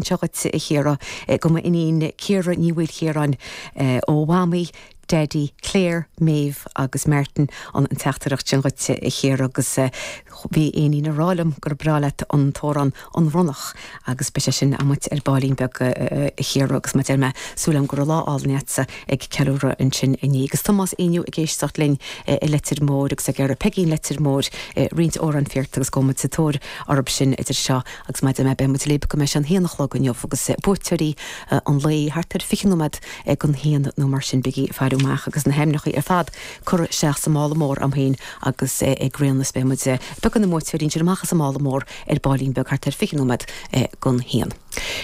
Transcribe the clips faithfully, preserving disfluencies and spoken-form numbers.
Seo dhuit a Chiara go m'iníon Ciara Ní Mhaoilchiaráin ó Mhamaí, Daddy, Claire, Maeve agus Martin an an teachtaireacht sin dhuit a Chiara agus bhí éinín ag rá liom gur breá leat an t-amhrán an Ronnach agus beidh sé sin amuigh ar baillín beag a Chiara agus má deir mé súil agam go raibh lá álainn agatsa ag ceiliúradh ansin inné agus Tomás Éinniú ag éisteacht linn i Leitir Móir agus ag iarraidh Peigín Leitir Móir roinnt amhrán fíort agus go sa tóir orthu sin idir seo agus má mé beimid libh go mbeidh sé an haon a chlog inniu agus buaiteoirí an lae thart ar fiche nóiméad ag an haon nó mar sin bígí ag faire amach agus na hainmneacha ar fad curtha isteach sa mála mór agam féin agus ag réanas beimid beag na mbuaiteoirí sin amach as an mála mór ar baillín beag thart ar fiche nóiméad gon haon.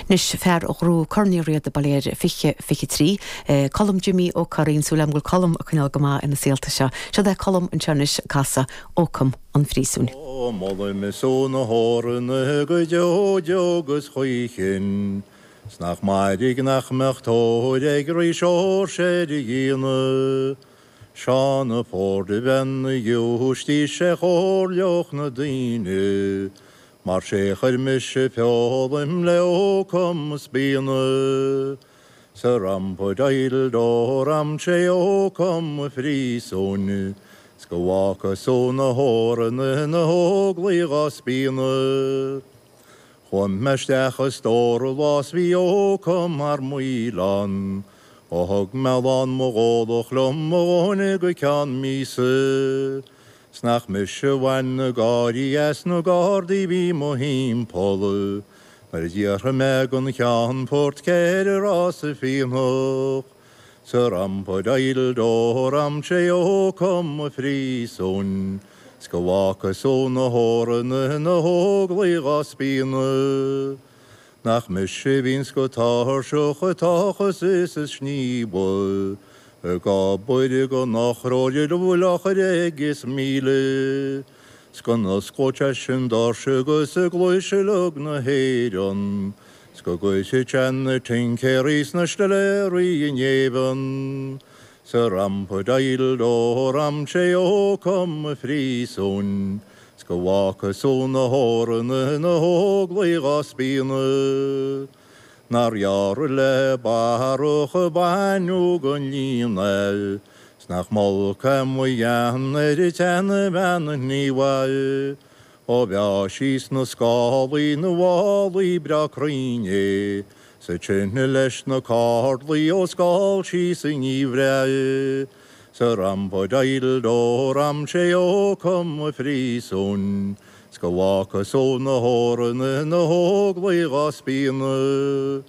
Anois fear a ghnóthaigh Corn Uí Riada Ballyhale fiche fiche trí, Colm Jimmy Ó Curraoin súil agam go bhfuil Colm ag coinneáil go maith ina saolta seo. Seo é Colm anseo anois ag casadh Ócam an Phríosúin. Molaim sú na hórna go deo agus chuichin, 'S nach mairg nach mbeadh tóir ag rí Seoirse ar a dhéanamh. Seán a Ford a bhean na giúistí sé chomhairleach na daoine, Mar sé chuir mise feolaim le ócam spíona. Sa rampa deil dó ram sé ócam a phríosúin, 's go bhfaca sú na hóranna na hóglaigh á spíonadh. Chuaigh mé isteach i stór lá 's bhí ócam thar maoil ann, ó thug mé lán mo dhólach liom mo dhóthain go ceann míosa. 'S nach mise a bhain na gáirí as na gardaí bhí mo thimpeall, Nuair a d'fhiafraigh mé den cheannfort céard a raibh sa fíonach. Sa rampa deil dó ram sé ócam a phríosúin, 's go bhfaca sú na hóranna na hóglaigh á spíonadh. Nach mise bhíonns go tuirseach ag tochas is ag sníomhadh, ag obair go n-ochróir bhfuil eochair agus míle, 's go n-osclódh seisean doirse agus a gcluaise uilig na hÉireann, 's go gcuirfeadh sé na tincéirí 's na stiléirí in éigean. Sa rampa deil dó ram sé ócam a phríosúin, 's go bhfaca sú na hóranna na hóglaigh á spíonadh. Nár ghearr le barrach a baineadh den líne, 's nach m'olc é mo ghean ar an tseanbhean ghníomhaí, Ó bheadh sí sna scálaí na bhfálaí breá cruinn é, sa tine leis na cardlaí ó scáil sí sa ngeimhreadh. Sa rampa deil dó ram sé ócam a phríosúin, 's go bhfaca sú na hóranna na hóglaigh á spíonadh.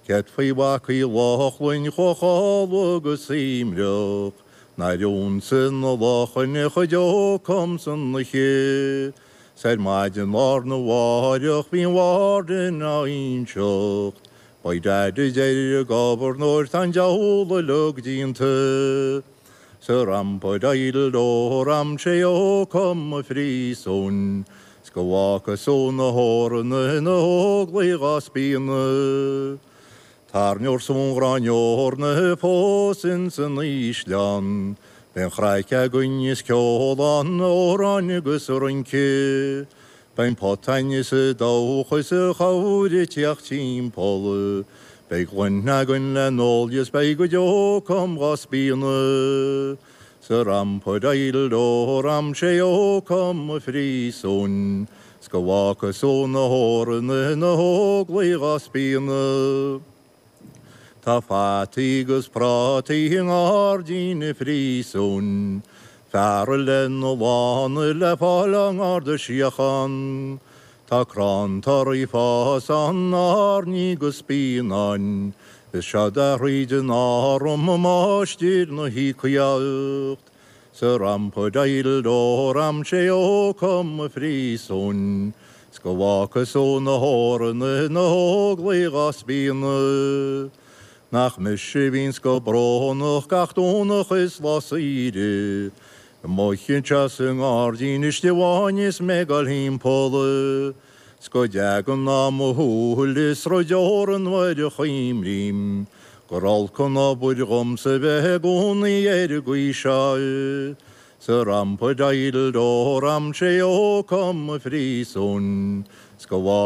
Céard faoi mhac Uí Lochlainn Chomhchál agus Imreach, nár ionsaigh na lachain a chuid ócam san oíche, 's ar maidin lá arna mháireach bhí an warden á inseacht, Beidh Dad a deir an gobharnóir tá an diabhal uilig déanta. Sa rampa deil dó ram sé ócam a phríosúin, 's go bhfaca sú na hóranna na hóglaigh á spíonadh. Tairneoir sún ghráinneoir na fós in san ísleán, Beidh an chraic againn is ceol ann amhráin agus rince. Beidh potain is a dóchas is a chabhair teacht timpeall, Beidh gloine againn le n-ól is beidh go deo ócam dhá spíonadh. Sa rampa deil dó ram sé ócam a phríosúin, 's go bhfaca sú na hóranna na hóglaigh á spíonadh. Tá fataí agus prátaí i ngairdín an phríosúin, Fear lena lána le fáil á nGarda Síochána. Tá crann torthaí ag fás ann airní agus spíonáin, Is seod é thríd an arm a máistir na híocaíocht. Sa rampa deil dó ram sé ócam a phríosúin, 's go bhfaca sú na hóranna na hóglaigh á spíonadh. Nach mise bhíonns go brónach gach Domhnach is lá saoire, Amuigh anseo sa ngairdín istigh amháin is mé ag dul thimpeall, 's go dteagann á mo shúil is rud deora nuair a chuimrím, Gur olc an obair dhomsa bheith i gcónaí ar an gcaoi seo. Sa rampa deil dó ram sé ócam a phríosúin, 's go bhfaca